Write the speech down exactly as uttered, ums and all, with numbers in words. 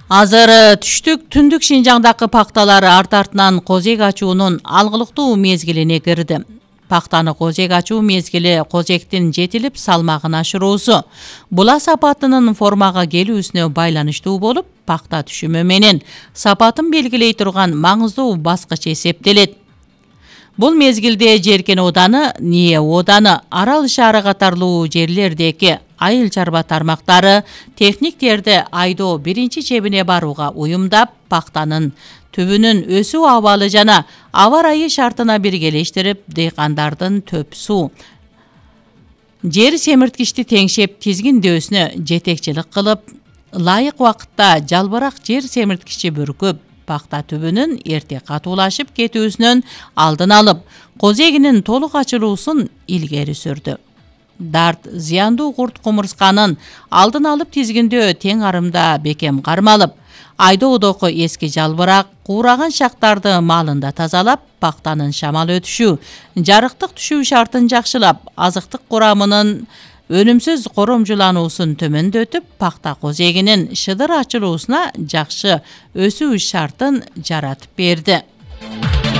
Азыр түштүк түндүк Шинжаңдагы пакталар арт артынан козек ачуунун алгылыктуу мезгилине кирди. Пактаны козек ачуу мезгили козектин жетилип салмагын ашыруусу. Була сапатынын формага келүүсүнө байланыштуу болуп, пакта түшүмү менен сапатын белгилей турган маңыздуу баскыч эсептелет. Бул мезгилде Жеркен ооданы, Ние ооданы, Арал шаары катарлуу жерлердеги айыл чарба тармактары техниктерди айдоо биринчи чебине барууга уюмдап, пактанын түбүнүн өсүү абалы жана аба ырайы шартына биргелештирип, дыйкандардын төп суу, жер семирткичти теңшеп тизгиндөөсүнө жетекчилик кылып, ылайык убакытта жалбырак жер семирткичи бүркүп, пакта түбүнүн эрте катуулашып кетүүсүнөн алдын алып, козегинин толук ачылуусун илгери сүрдү. Дарт зыяндуу курт кумурсканын алдын алып тизгиндөө тең арымда бекем кармалып, айдоодогу эски жалбырак, куураган шактарды маалында тазалап, пактанын шамал өтүшү, жарыктык түшүү шартын жакшылап, азыктык курамынын өнүмсүз коромжулануусун төмөндөтүп, пакта козегинин шыдыр ачылуусуна жакшы өсүү шартын жаратып берди.